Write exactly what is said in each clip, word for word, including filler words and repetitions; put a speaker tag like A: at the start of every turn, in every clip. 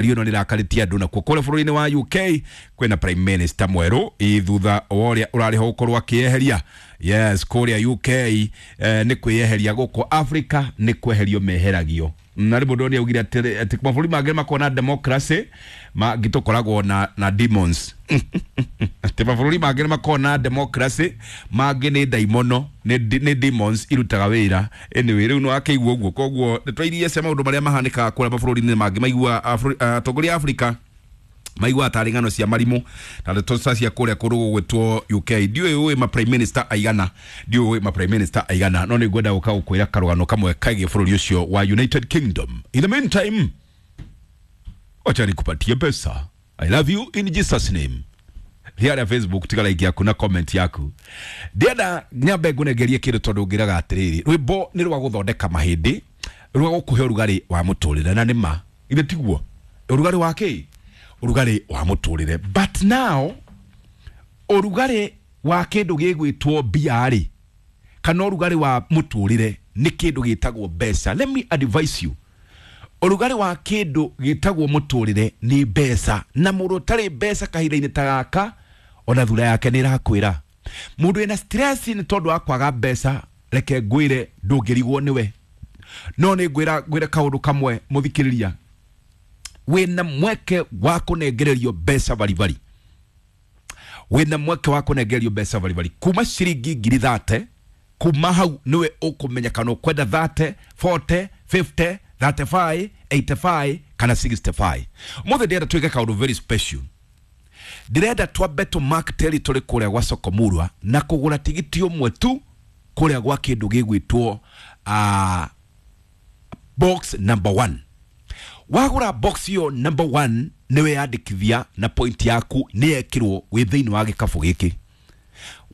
A: Ĩno nĩ ĩrakarĩtie andũ nakuo kũrĩa bũrũri-inĩ wa U K kwĩna prime minister mwerũ ĩ thutha wa ũrĩa ũrarĩ ho gũkorwo akĩeheria. Yes, kũrĩa U K eh, nĩ kwĩyeheria, gũkũ Africa nĩ kweherio meheragio. Na rĩ mũndũ nĩ augire atĩ atĩ mabũrũri mangĩ makoragwo na democracy, mangĩ tũkoragwo na, na demons. Atĩ mabũrũri mangĩ makoragwo na democracy, mangĩ nĩ ndaimono, nĩ nĩ demons irutaga wĩra. Anyway, rĩu no akĩigua ũguo, koguo ndeto iria cia maũndũ marĩa mahanĩkaga kũrĩa mabũrũri-inĩ mangĩ maigua atongoria a Afrika maigua tarĩ ng'ano cia marimũ na ndeto ta cia kũrĩa kũndũ gũgwĩtwo U K. Ndiũĩ ũĩ ma prime minister aigana, ndiũĩ ũĩ ma prime minister aigana, no nĩ ngwenda gũka gũkwĩra karũgano kamwe kegiĩ bũrũri ũcio wa United Kingdom. In the meantime, wacha nikupatie pesa. I love you in Jesus' name. Thiara Facebook, tiga like yaku na comment yaku. Ndienda nyambe ngũnengerie kĩndũ tondũ ngĩraga atĩrĩrĩ, rwĩmbo nĩ rwa gũthondeka mahĩndĩ, rwa gũkũhe ũrugarĩ wa mũtũrĩre, na nĩ ma ithe tiguo ũrugarĩ wa kĩ, ũrugarĩ wa mũtũrĩre. But now ũrugarĩ wa kĩndũ gĩgwĩtwo mbia rĩ, kana ũrugarĩ wa mũtũrĩre nĩ kĩndũ gĩtagwo mbeca. Let me advise you, ũrugarĩ wa kĩndũ gĩtagwo mũtũrĩre nĩ mbeca, na mũndũ ũtarĩ mbeca kahinda-inĩ ta gaka ona thura yake nĩ ĩrakwĩra. Mũndũ wĩna stress nĩ tondũ wa kwaga mbeca, reke ngwĩre ndũngĩrigwo nĩwe. No nĩ ngwĩra ngwĩre kaũndũ kamwe mũthikĩrĩria, wĩna mweke wa kũnengererio mbeca baribari, wĩna mweke wa kũnengererio mbeca baribari kuma ciringi ngiri thate. Kuma hau niwe ũkũmenya kana ũkwenda thate, forty, fifty, thirty-five, eighty-five kana sixty-five. Ũmũthĩ ndĩrenda twĩke kaũndũ very special. Ndĩrenda twambe tũ mark territory kũrĩa gwa Sokomurwa na kũgũra tigiti ũmwe tu kũrĩa gwa kĩndũ gĩgwĩtwo uh, box number one. Wagũra box ĩyo number one, nĩwe yandĩkithia na point yaku nĩ yekĩrwo wĩ thĩinĩ wa gĩkabũ gĩkĩ.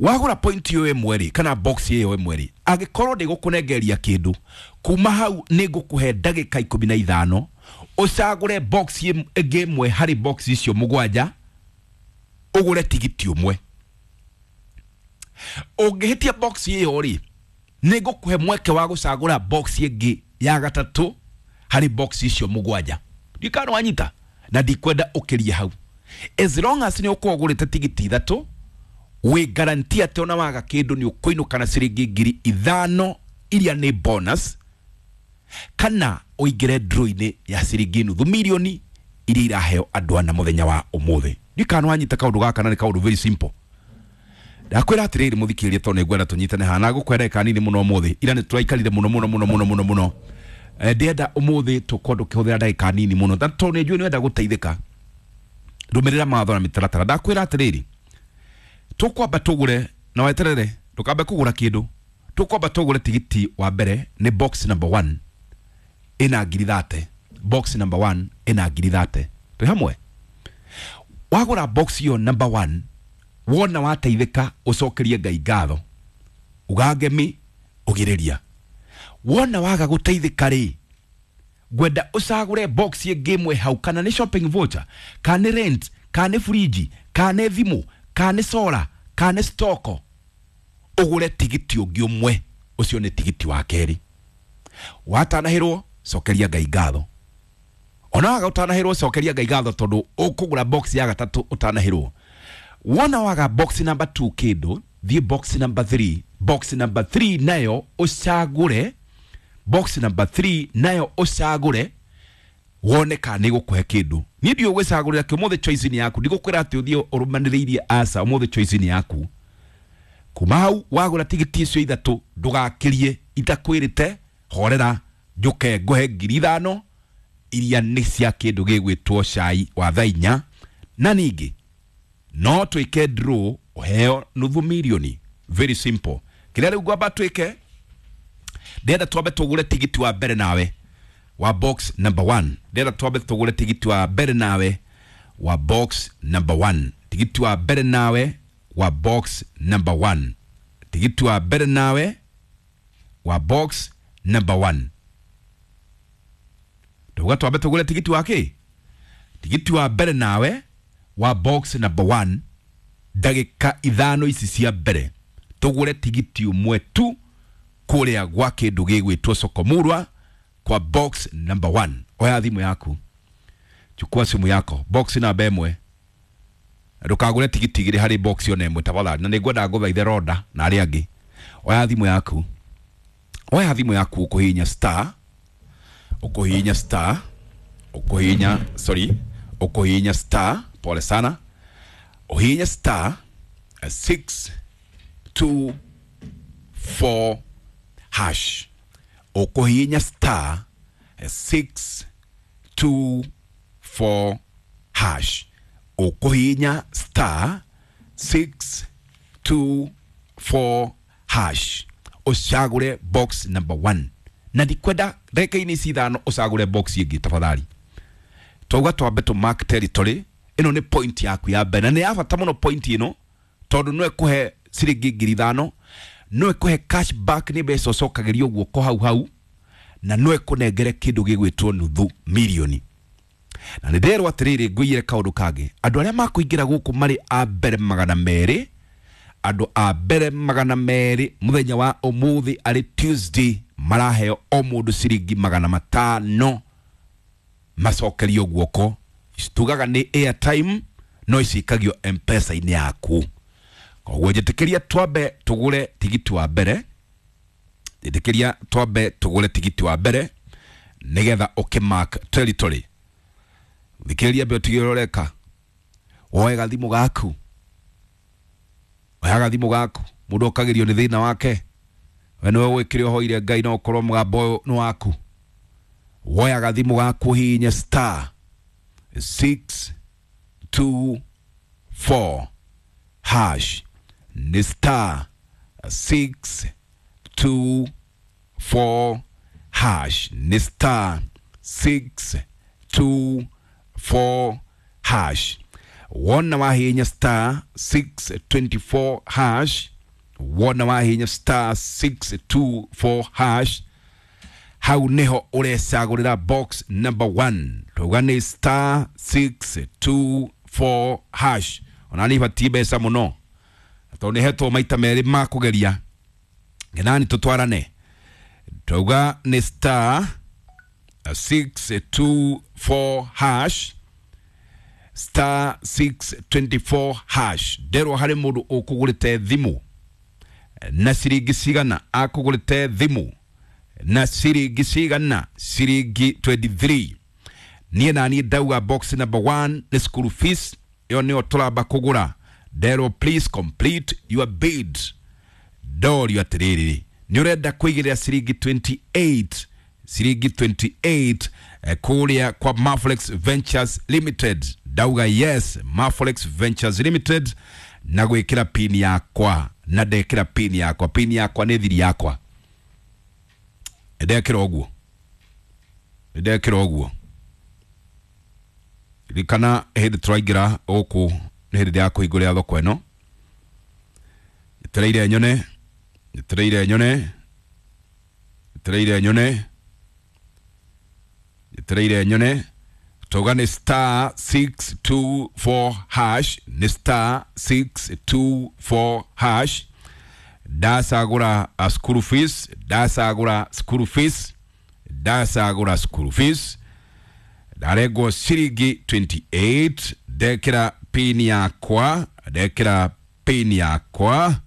A: Wagũra point ĩyo ĩmwe rĩ, kana box ĩyo ĩmwe rĩ, angĩkorwo ndĩgũkũnengeria kĩndũ kuma hau, nĩ ngũkũhe ndagĩka ikũmi na ithano ũcagũre box ĩngĩ ĩmwe harĩ box icio mũgwanja, ũgũre tigiti ũmwe. Ũngĩhĩtia box ĩyo rĩ, nĩ ngũkũhe mweke wa gũcagũra box ĩngĩ ya gatatũ harĩ box icio mũgwanja. Ndikana wanyita, na ndikwenda ũkĩrie hau. As long as nĩ ũkorwo ũgũrĩte tigiti ithatũ, wĩ guarantee atĩ ona waga kĩndũ nĩ ũkũinũka na ciringi ngiri ithano iria nĩ bonus, kana ũingĩre draw-inĩ ya ciringi nuthu milioni iria iraheo andũ ana mũthenya wa ũmũthĩ. Ndikana wanyita kaũndũ gaka, na nĩ kaũndũ very simple. Ndakwĩra atĩrĩrĩ mũthikĩrĩria, tondũ nĩngwenda tũnyitane haha na ngũkwenda ndagĩka nini mũno ũmũthĩ. Ira nĩ tũraikarire mũno mũno mũno mũno mũno mũno. Eh, ndĩrenda ũmũthĩ tũkorwo tũkĩhũthĩra ndagĩka nini mũno, na tondũ nĩ njũĩ nĩ wenda gũteithĩka, rũmĩrĩra mawatho na mĩtaratara. Ndakwĩra atĩrĩrĩ, tũkwamba tũgũre na weterere, ndũkambe kũgũra kĩndũ. Tũkwamba tũgũre tigiti wa mbere, nĩ box number one, ĩna ngiri thate. Box number one ĩna ngiri thate. Twĩ hamwe? Wagũra box ĩyo number one, wona wateithĩka, ũcokerie Ngai ngatho, ugangemi ũgirĩria. Wona waga gũteithĩka rĩ, ngwenda ũcagũre box ĩngĩ ĩmwe hau, kana nĩ shopping voucher, kana nĩ rent, kana nĩ fridge, kana nĩ thimũ, kana nĩ solar, kana nĩ stoko, ũgũre tigiti ũngĩ ũmwe. Ũcio nĩ tigiti wa kerĩ. Watanahĩrwo, cokeria Ngai ngatho. Ona waga ũtanahĩrwo, cokeria Ngai ngatho, tondũ ũkũgũra box ya gatatũ ũtanahĩrwo. Wona waga box number two kĩndũ, thiĩ box number three. Box number three nayo ũcagũre, box number three nayo ũcagũre wone kana nĩ gũkũhe kĩndũ. Niĩ ndiũĩ gwĩcagũrĩra kĩ ũmũthĩ, choice nĩ yaku. Ndigũkwĩra atĩ ũthiĩ ũrũmanĩrĩirie, aca, ũmũthĩ choice nĩ yaku. Kuma hau wagũra tigiti icio ithatũ, ndũgakĩrie itakwĩrĩte. Horera njũke ngũhe ngiri ithano iria nĩ cia kĩndũ gĩgwĩtwo cai wa thaa inya, na ningĩ no twĩke draw ũheo nuthu milioni. Very simple. Kĩrĩa rĩu ngwamba twĩke, ndĩrenda twambe tũgũre tigiti wa mbere nawe wa box number one. Ndĩrenda twambe tũgũre tigiti wa mbere nawe wa box number one. Tigiti wa mbere nawe wa box number one. Tigiti wa mbere nawe wa box number one. Tuga twambe tũgũre tigiti wa kĩ, tigiti wa mbere nawe wa box number one. Ndagĩka ithano ici cia mbere tũgũre tigiti ũmwe tu kũrĩa gwa kĩndũ gĩgwĩtwo Sokomurwa kwa box number one. Oya thimũ yaku. Chukua simu yako, box namba ĩmwe, ndũkagũre tigiti igĩrĩ harĩ box ona ĩmwe tafadhali, na nĩngwenda ngũthaithe Roda na arĩa angĩ. Oya thimũ yaku, oya thimũ yaku, ũkũhihinya star, ũkũhihinya star, ũkũhihinya, sorry, ũkũhihinya star, pole sana, ũhihinye star six two four hash, ũkũhihinya star six two four hash, ũkũhihinya star six two four hash, ũcagũre box number one. Na ndikwenda ndagĩka-inĩ ici ithano ũcagũre box ĩngĩ tafadhali. Twauga twambe tũ mark territory. Ĩno nĩ point yaku ya mbere, na nĩ ya bata mũno point ĩno, tondũ no ĩkũhe ciringi ngiri ithano, no ĩkũhe cash back, nĩ mbeca ũcokagĩrio guoko hau hau, na no ĩkũnengere kĩndũ gĩgwĩtwo nuthu milioni. Na nĩ nderwo atĩrĩrĩ, ngũiyĩre kaũndũ kangĩ, andũ arĩa makũingĩra gũkũ marĩ a mbere magana merĩ, andũ a mbere magana merĩ mũthenya wa ũmũthĩ arĩ Tuesday, maraheo o mũndũ ciringi magana matano macokerio guoko. Tugaga nĩ airtime, no icikagio M-Pesa-inĩ yaku. Koguo njĩtĩkĩria twambe tũgũre tigiti wa mbere, njĩtĩkĩria twambe tũgũre tigiti wa mbere nĩgetha ũkĩmark territory. Thikĩrĩria mbere, ũtige ũreka, woe gathimũ gaku, oya gathimũ gaku. Mũndũ okagĩrio nĩ thĩna wake, we nĩwe ũĩ kĩrĩa ũhoire Ngai, no ũkorwo mũgambo ũyũ nĩ waku. Woya gathimũ gaku, ũhihinye star six two four hash, nĩ star six two four hash, nĩ star six two four hash. Wona wahihinya star six twenty four hash, wona wahihinya star six two four hash, hau niho ũrecagũrĩra box number one. Twauga nĩ star six two four hash. Ona nĩ ibatiĩ mbeca mũno tondũ nĩ hetwo maita merĩ ma kũgeria ngenani tũtwarane. Twauga nĩ star six two four hash, star six twenty four hash. Nderwo harĩ mũndũ ũkũgũrĩte thimũ na ciringi cigana, akũgũrĩte thimũ na ciringi cigana, ciringi twenty three. Niĩ naniĩ ndauga box number one nĩ school fees, ĩyo nĩyo tũramba kũgũra. Nderwo please complete your bid. Ndorio atĩrĩrĩ, nĩ ũrenda kũigĩrĩra ciringi twenty eight, ciringi twenty eight eh, kũrĩa kwa Maflex Ventures Limited. Ndauga yes, Maflex Ventures Limited, na gwĩkĩra pin yakwa, na ndekĩra pin yakwa, pin yakwa nĩ thiri yakwa, ndekĩra ũguo, ndekĩra ũguo. Ririkana hĩndĩ tũraingĩra gũkũ nĩ hĩndĩ ya kũhingũrĩra thoko ĩno. Njetereire nyone, njetereire nyone, njetereire nyone, njetereire nyone. Twauga nĩ star six two four hash, nĩ star six two four hash. Ndacagũra school fees, ndacagũra school fees, ndacagũra school fees, ndarengwo ciringi twenty eight. Ndekĩra pin yakwa, ndekĩra pin yakwa,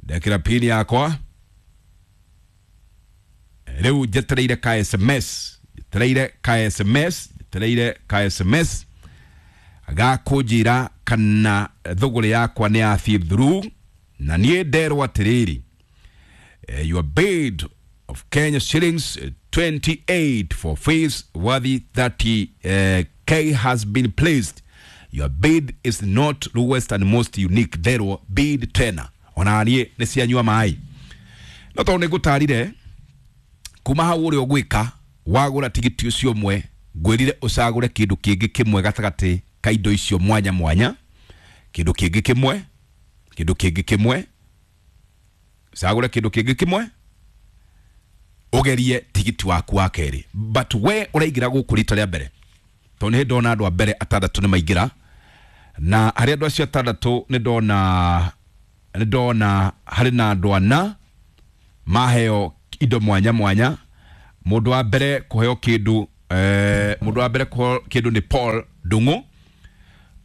A: ndekĩra pin yakwa. Rĩu njetereire ka S M S, njetereire ka S M S, njetereire ka S M S gakũnjĩra kana thũgũrĩ yakwa nĩ yathiĩ through. Na niĩ nderwo atĩrĩrĩ, your bid of Kenya shillings twenty eight for fees worthy thirty K has been placed. Your bid is not lowest and most unique. Nderwo bid tena, ona niĩ nĩ cianyua maĩ. No tondũ nĩ ngũtarire kuma hau ũrĩa ũgwĩka wagũra tigiti ũcio ũmwe, ngwĩrire ũcagũre kĩndũ kĩngĩ kĩmwe gatagatĩ ka indo icio mwanya mwanya, kĩndũ kĩngĩ kĩmwe, kĩndũ kĩngĩ kĩmwe, ũcagũre kĩndũ kĩngĩ kĩmwe, ũgerie tigiti waku wa kerĩ. But we ũraingĩra gũkũ rita rĩa mbere, tondũ nĩ ndona andũ a mbere atandatũ nĩ maingĩra, na harĩ andũ acio atandatũ nĩ ndona, nĩ ndona harĩ na andũ ana maheo indo mwanya mwanya. Mũndũ wa mbere kũheo kĩndũ eh, mundu wa mbere kũheo kĩndũ nĩ Paul Ndung'u.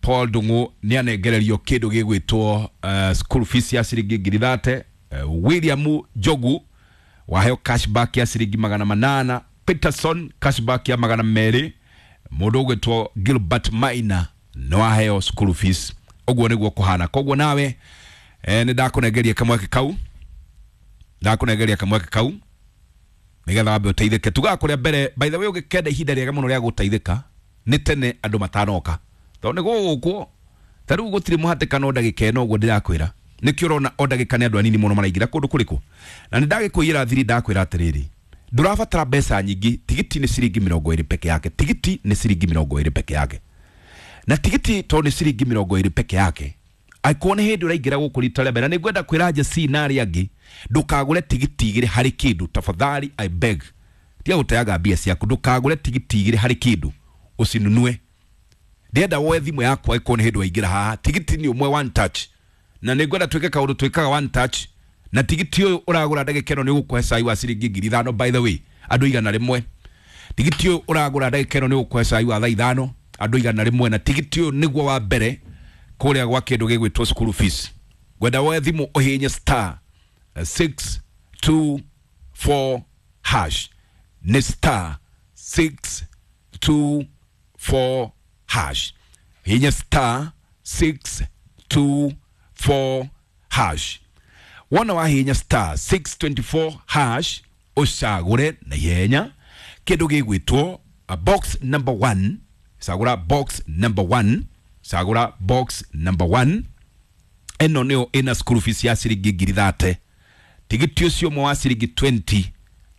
A: Paul Ndung'u nĩ anengererio kĩndũ gĩgwĩtwo uh, school fees ya ciringi ngiri thate. uh, William Njogu waheo cashback ya ciringi magana manana. Peterson cashback ya magana merĩ. Mũndũ ũgwĩtwo Gilbert Maina nĩ waheo school fees. Ũguo nĩguo kũhana. Koguo nawe eh, nĩ ndakũnengeria kamweke kau, ndakũnengeria kamweke kau nigetha wambe ũteithĩke. Tugaga kũrĩa mbere, by the way, ũngĩkenda ihinda rĩega mũno rĩa gũteithĩka nĩ tene andũ matanoka, tondũ nĩ gũgũkwo ta rĩu gũtirĩ mũhatĩkano ndagĩka ĩno ũguo ndĩrakwĩra. Nĩkĩo ũrona o ndagĩka nĩ andũ anini mũno maraingĩra kũndũ kũrĩkũ. Na nĩ ndagĩkũiyĩra thiri, ndakwĩra atĩrĩrĩ, ndũrabatara mbeca nyingĩ. Tigiti nĩ ciringi mĩrongo ĩrĩ peke yake. Tigiti nĩ ciringi mĩrongo ĩrĩ peke yake. Na tigiti tondũ nĩ ciringi mĩrongo ĩrĩ peke yake, angĩkorwo nĩ hĩndĩ ũraingĩra gũkũ rita rĩa mbere, na nĩ ngwenda kwĩra Jesse na arĩa angĩ, ndũkagũre tigiti igĩrĩ harĩ kĩndũ. Tafadhali, I beg, tiga gũteaga mbia ciaku. Ndũkagũre tigiti igĩrĩ harĩ kĩndũ, ũcinunue. Ndĩrenda woe thimũ yaku angĩkorwo nĩ hĩndĩ waingĩra haha. Tigiti nĩ ũmwe, one touch. Na nĩ ngwenda twĩke kaũndũ twĩkaga one touch. Na tigiti ũyũ ũragũra ndagĩka ĩno nĩ ũgũkũhe cai wa ciringi ngiri ithano. By the way, andũ igana rĩmwe, tigiti ũyũ ũragũra ndagĩka ĩno nĩ ũgũkũhe cai wa thaa ithano, andũ igana rĩmwe. Na tigiti ũyũ nĩguo wa mbere kũrĩa gwa kĩndũ gĩgwĩtwo school fees. Ngwenda woe thimũ ũhihinye star six two four hash. Nĩ star six two four hash. Hihinya star six two four hash. Wona wahihinya star six twenty-four hash, ũcagũre na ihenya kĩndũ gĩgwĩtwo a box number one. Cagũra box number one, cagũra box number one. Ĩno nĩyo ĩna school fees ya ciringi ngiri thate. Tigiti ũcio ũmwe wa ciringi twenty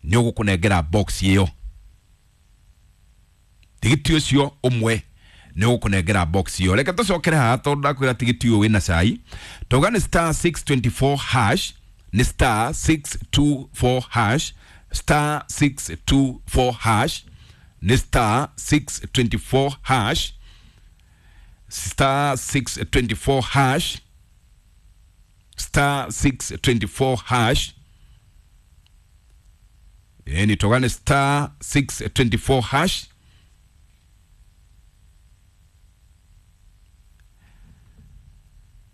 A: nĩ ũgũkũnengera box ĩyo. Tigiti ũcio ũmwe nĩ ũgũkũnengera box ĩyo. Reke tũcokere haha tondũ ndakwĩra tigiti ũyũ wĩna cai. Tauga nĩ star six twenty-four hash, nĩ star six two four hash, star six two four hash, nĩ star six twenty-four hash, star six twenty-four hash, star six twenty-four hash. Ni toga nĩ star six twenty-four hash.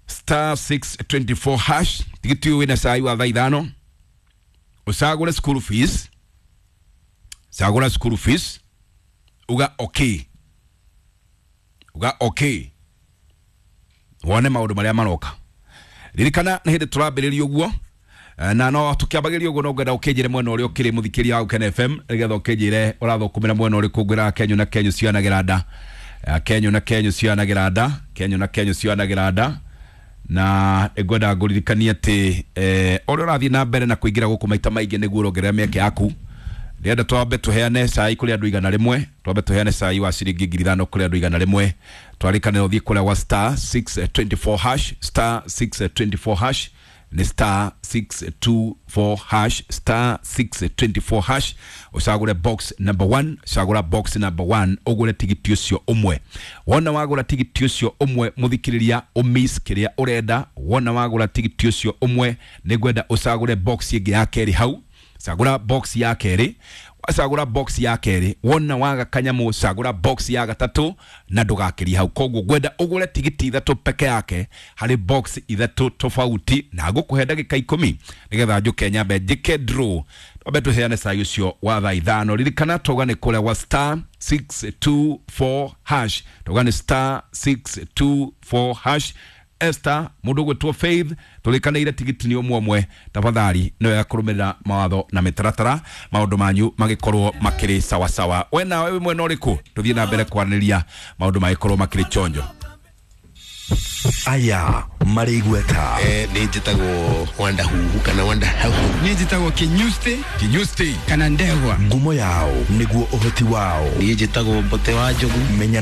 A: Star six twenty-four hash. Tigiti ũyũ wĩna cai wa thaa ithano. Ũcagũre school fees, cagũra school fees, uga okay, uga okay, wone maũndũ marĩa maroka. Ririkana nĩ hĩndĩ tũrambĩrĩria ũguo, na no tũkĩambagĩrĩria ũguo no ngwenda ũkĩnjĩre mwena ũrĩa ũkĩrĩ mũthikĩria wa Gũkena F M, nĩgetha ũkĩnjĩre ũrathũkũmĩra mwena ũrĩkũ. Ngwĩraga Kenyũ na Kenyũ cionagĩra nda, Kenyũ na Kenyũ cionagĩra nda, Kenyũ na Kenyũ cionagĩra nda. Na ngwenda ngũririkanie atĩ eh, ũrĩa ũrathiĩ na mbere na kũingĩra gũkũ maita maingĩ nĩguo ũrongerera mĩeke yaku. Ndĩrenda twambe tũheane cai kũrĩ andũ igana rĩmwe, twambe tũheane cai wa ciringi ngiri ithano kũrĩ andũ igana rĩmwe. Twarĩkanĩra ũthiĩ kũrĩa gwa star six twenty-four hash, star six twenty-four hash, nĩ star six two four hash, star six twenty-four hash. Ũcagũre box number one, cagũra box number one, ũgũre tigiti ũcio ũmwe. Wona wagũra tigiti ũcio ũmwe, mũthikĩrĩria, ũmiss kĩrĩa ũrenda. Wona wagũra tigiti ũcio ũmwe, nĩngwenda ũcagũre box ĩngĩ ya kerĩ hau. Cagũra box ya kerĩ, wacagũra box ya kerĩ, wona waga kanyamũ, cagũra box ya gatatũ na ndũgakĩrie hau. Koguo ngwenda ũgũre tigiti ithatũ peke yake harĩ box ithatũ tofauti, na ngũkũhe ndagĩka ikũmi nĩgetha njũke nyambe njĩke draw. Twambe tũheane cai ũcio wa thaa ithano. Ririkana tauga nĩ kũrĩa gwa star six two four hash, tauga nĩ star six two four hash. Esther, mũndũ ũgwĩtwo Faith, tũrĩkanĩire tigiti nĩ ũmwe ũmwe. Tafadhali nĩ wega kũrũmĩrĩra mawatho na mĩtaratara, maũndũ manyu magĩkorwo makĩrĩ sawasawa. We nawe wĩ mwena ũrĩkũ? Tũthiĩ na mbere kwaranĩria, maũndũ magĩkorwo makĩrĩ chonjo.
B: Aya marĩ igweta.
C: Eh, nĩ njĩtagwo Wanda Huhu kana Wanda Hau.
D: Niĩ njĩtagwo Kinyusti
A: Kinyusti
D: kana Ndegwa.
B: Ngumo yao nĩguo ũhoti wao.
C: Niĩ njĩtagwo Mbote wa Njogu.
B: Menya